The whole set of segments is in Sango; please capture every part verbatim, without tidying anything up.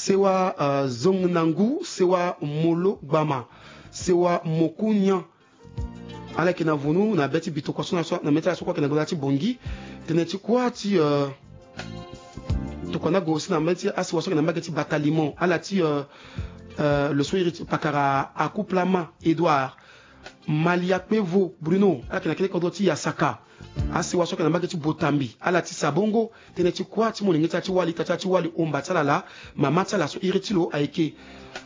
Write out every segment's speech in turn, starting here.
Sewa, euh, Zong na Ngu, Sewa Molo Gbama, Sewa Moku Nyan. Ala yeke na vunu na be ti bitokua so na so na mê ti ala so kue ayeke na gbata ti Bongi. Tënë ti kuâ ti, euh, tokua ni ague aussi na mê ti asewa so ayeke na mbage ti Batalimon, ala ti, euh, euh, lo so iri ti pakara Akuplama Edouard. Maliakpevo Bruno, ala yeke na kete kodro ti Yasaka. Asewa so ayeke na mbage ti Botambi, ala ti Sabongo. Tënë ti kuâ ti molenge ti ala ti wali, ita ti ala ti wali, omba ti ala laa, mama ti ala so iri ti lo ayeke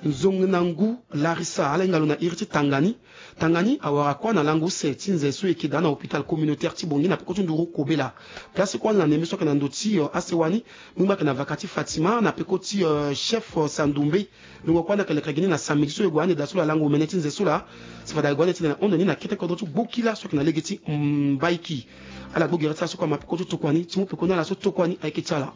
Nzong na Ngu Larissa, ala hinga lo na iri ti Tangani. Tangani awara kuâ na lango use ti nze so e yeke daa na hôpital communautaire ti Bongi na peko ti nduru kobela. Place kuâ ni na nembe so ayeke na ndo ti, euh, asewa ni, mbi ngba ayeke na vaka ti Fatima na peko ti, euh, chef, euh, Sandumbe. Ndongo kuâ ni ayeke lekere gi ni na samedi so e gue ande daa so laa, lango omene ti nze so laa. Si fade ague ande titene na hon ni na kete kodro ti Gbokila so ayeke na lege ti Mbaiki. Ala gbu gere ti ala so kue ama peko ti tokua ni, ti mu peko ni ala so tokua ni ayeke ti ala.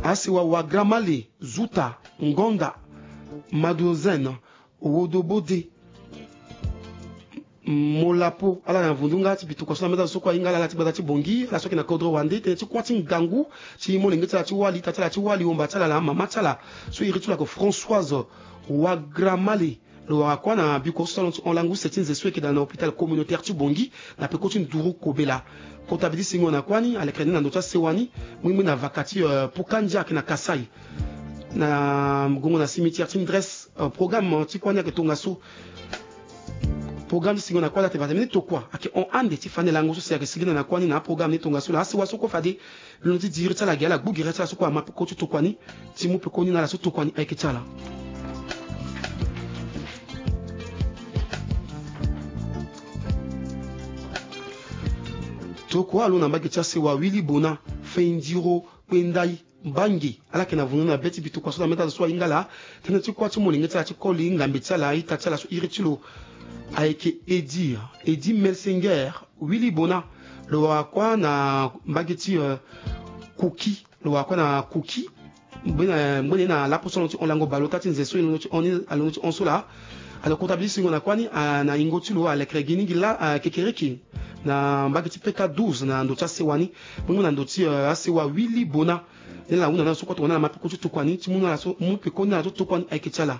Asewa Wagramale, Zuta, Ngonda, Madozen, Wodobode, Molapo, ala na vundunga ti bitokua so na mê ti azo so kue ahinga ala, ala ti gbata ti Bongi, ala so ayeke na kodro wande. Tënë ti kuâ ti ngangu ti molenge ti ala ti wali, ita ti ala ti wali, omba ti ala laa, mama ti ala so iri ti lo ayeke Françoise Wagramale. Lo wara kuâ na biko so ti ala ti hon lango use ti nze so e yeke daa na hôpital communautaire ti Bongi na peko ti nduru kobela. Kota bi ti sengo na kuâ ni alekere ni na ndo ti asewa ni, mbi ngba na vaka ti, euh, Pukandia ayeke na Kasaï. Na gongo na cimetière ti Ndresse, euh, programme ti kuâ ni ayeke tongaso. Programme ti sengo na kuâ ni atene fade mbeni tokua ayeke hon ande ti fani lango so si ayeke sigi na kuâ ni na programme ni tongaso laa. Asewa so kue fade lo na ti diri ti ala gi ala gbu gere ti ala so kue ama peko ti tokua ni, ti mu peko ni na ala so tokua ni ayeke ti ala. Tokua alo na mbage ti asewa Willy Bona, Fendiro Kpendai Mbangi, ala yeke na vunu na be ti bitokua so na mê ti azo so ahinga ala. Tënë ti kuâ ti molenge ti ala ti koli ngambe ti ala, ita ti ala so iri ti lo ayeke Edi, Edi Melsinger Willy Bona. Lo wara kuâ na mbage ti, euh, Kuki. Lo wara kuâ na Kuki. Ngbene, ngbene na lapo so alondo ti hon lango bale ota ti nze so e londo ti hon ni, alondo ti hon so laa. Alo kota bi ti sengo na kuâ ni, ah, na yingo ti lo alekere gi ni gi laa, ah, kekereke na mbage ti P K douze na ndo ti asewa ni. Mbi ngba na ndo ti, euh, asewa Willy Bona. Ni ala hunda na ala so kue tongana ala ma peko ti tokua ni, ti mu na ala so, mu peko ni na ala so tokua ni ayeke ti ala.